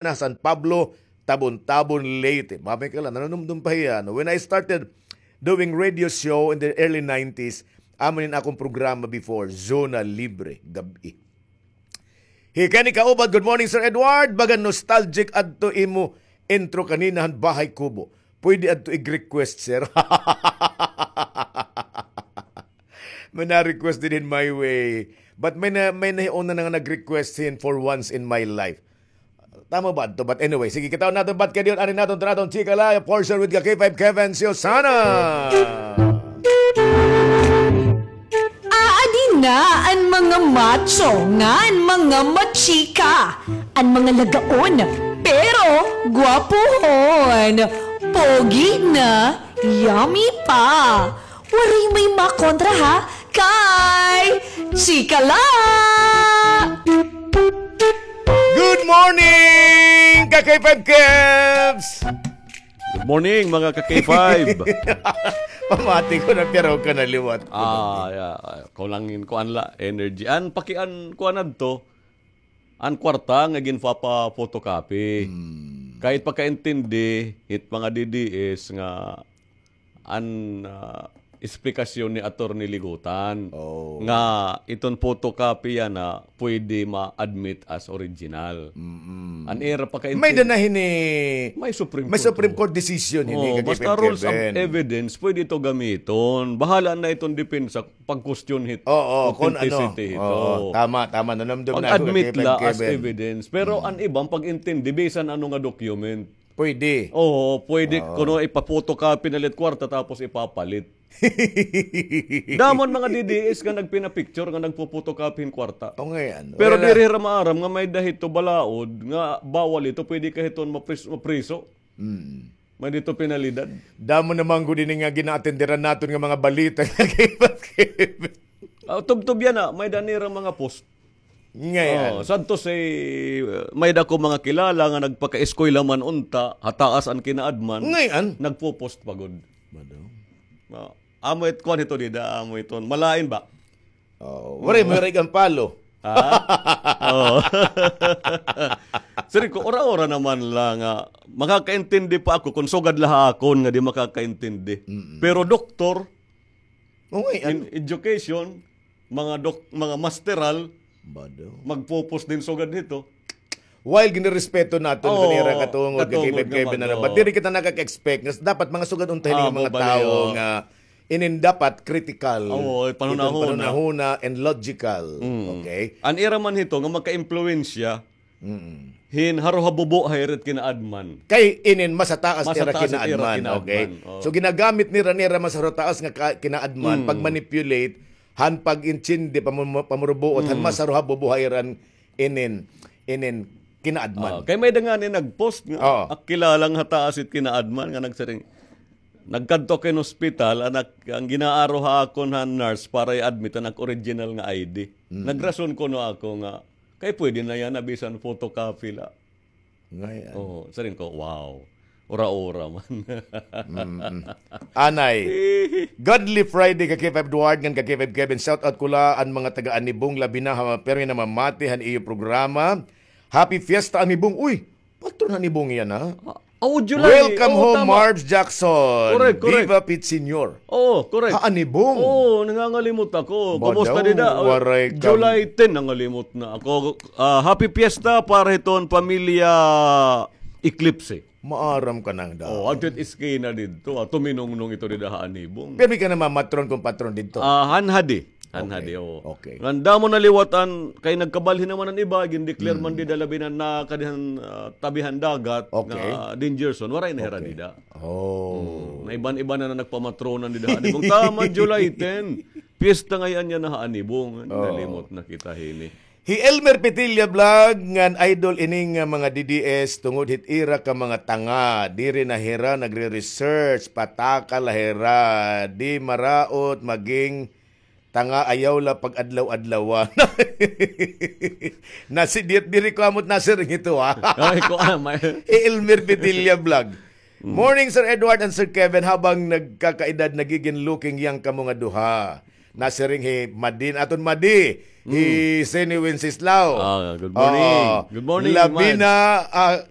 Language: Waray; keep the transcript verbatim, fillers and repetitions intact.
na San Pablo, Tabon-Tabon, Leyte. Mamay ka lang, nanunumdum pa hiya, no? When I started doing radio show in the early nineties, amo nin akon programa before, Zona Libre, gab-i. Hi Kenny Kaubat, good morning, Sir Edward. Baga nostalgic adto imo intro kanina han Bahay Kubo. Pwede adto ig-request, sir. May na-request din in my way. But may na, may nahiuna na nga nag-request hin For Once in My Life. Tama ba adto? But anyway, sige, kitaon naton bat kay diyon, ari naton tratong chika la, for sure with ka K five Kevin Siosana. Aadi na an mga macho ngan mga machika, an mga lagaon, pero gwapuhon, pogi na, yummy pa. Waray may makontra ha, kay chika la! Good morning, ka K five Kevs! Good morning, mga ka K five. Pamati ko na, pero ka na liwat. Ah, yeah. Ah, kulangin ko anla, energy. An pakian ko anadto, an kwarta nga ginpapa-photocopy. Hmm. Kahit pagkaintindi, hit mga D D S nga an, ah, esplikasyon ni Attorney Ligutan Oh. nga iton photocopy yana pwede ma-admit as original. Mm-mm. An ira pagkaintindi. May danahin ni, may Supreme may Court, Supreme oh. Court decision hini Oh, kay basta Kevin. Rules of evidence, pwede ito gamiton. Bahala na iton depensa pag-question hit Oo, kung ano. Authenticity hito. Oo, tama, tama. Nanamdam na ako kay Kevin. Pag-admit la as evidence. Pero Mm. an iban pag-intindi, bisan ano nga document. Pwede. Oo, pwede Oo. kuno ipa-photocopy na lit kwarta tapos ipapalit. Damo an mga D D S nga nagpina-picture nga nagpo-photocopy hin kwarta. O, ngay-an. Pero diri hira maaram nga may-ada hito balaod nga bawal ito, pwede ka hiton mapris-, mapriso. Mm. May-ada hito penalidad. Damo na man gud ini nga gina-attenderan naton nga mga balita nga kay Ah, tubtob yana, may-ada nira mga post. Ngay-an. Oh, sadto si, uh, may-ada ko mga kilala nga nagpakaeskwela man unta, ha taas an kinaadman. Ngay-an. Nagpo-post pa gud. Madaw. Ah, amo it kuan hito dida, amo iton. Malain ba? Oh, waray mo rig ang palo. Ha? Oh. Sir ko, ora-ora naman la nga makakaintindi pa ako kung sugad la ha akon nga di makakaintindi. Mm-mm. Pero doktor, Oh, ngay-an. In education, mga dok-, mga masteral, Bado. Magpo-post din sugad hito. While ginirespeto naton Oo, kanira katungod, katungod katibay nga kay man, binana. But oo. Diri kita nakaka-expect nga dapat mga sugad unta hini Ah, nga mga mobile, tawo oo. Nga inin dapat critical. Oo, panhunahuna. Iton panhunahuna and logical. Mm. Okay? An ira man hito nga magka-impluwensya, Mm. hin harohabubo ha ira it kinaadman. Kay inin mas hataas nira kinaadman, okay? Mas hataas it ira kinaadman, oo. So, ginagamit nira, nira mas hataas nga ka-, kinaadman, Mm. pag-manipulate, han pag-intindi, pamu-, pamurubuot, han Mm. mas harohabubo ha iran inin, inin kinaadman. Ah, kay may-ada ngani nag-post nga, Oo. ak-, kilala nga hataas it kinaadman nga nagsiring, nagkadto ako hin hospital, an ak-, an ginaaro ha akon han nurse para i-admit an ak original nga I D. Mm. Nagrason kuno ako nga, Kay pwede na yana bisan photocopy la. Ngay-an. Oo, siring ko, wow. Ura-ura man. Mm-mm. Anay. Godly Friday ka K five Edward ngan ka K five Kevin. Shout out ko la an mga taga Anibong, labi na ha pirmi namamati han iyo programa. Happy Fiesta Anibong. Uy, patron han Anibong yana. Ah, oh, July. Welcome home, tama. Marbs Jackson. Correct, correct. Viva Pete Senior. Oo, correct. Ha Anibong. Oo, nangangalimot ako. Kumusta dida? Waray ka. July ten, nangalimot na ako. Ah, happy fiesta para hiton pamilya Eclipse. Maaram ka nang daw. Oh, adto it eskina didto, ah, tuminungnong ito dida ha Anibong. Pirmi ka na mamatron kon patron didto. Ah, han hadi. Han hadi, oo. Okay. Ngan damo na liwat an, kay nagkabalhin naman an iba, gin-declare man dida labi na nakadi han, ah, tabi han dagat, nga danger zone, waray na hira dida. Oh. Hmm. Naiban-iban na nagpamatronan dida ha Anibong. Tama, July ten. Piyesta ngay-an yana ha Anibong. Nalimot na kita hini. Hi Elmer Petilla Vlog, ngan idol ini nga mga D D S, tungod hit ira ka mga tanga, diri na hira nagre-research, pataka la hira, di maraot maging tanga, ayaw la pag-adlaw-adlawan. Nasi-, di-, diri ko amo it nasiring ito, ha? Ay, ko, ah, may- Hi Elmer Petilla Vlog. Mm. Morning, Sir Edward and Sir Kevin. Habang nagkakaedad, nagiging looking young kamo nga duha. Nasiring hi Madi, aton Madi, hi Seni Wenceslao. Ah, good morning. Oo. Good morning, Labi man. Na, ah,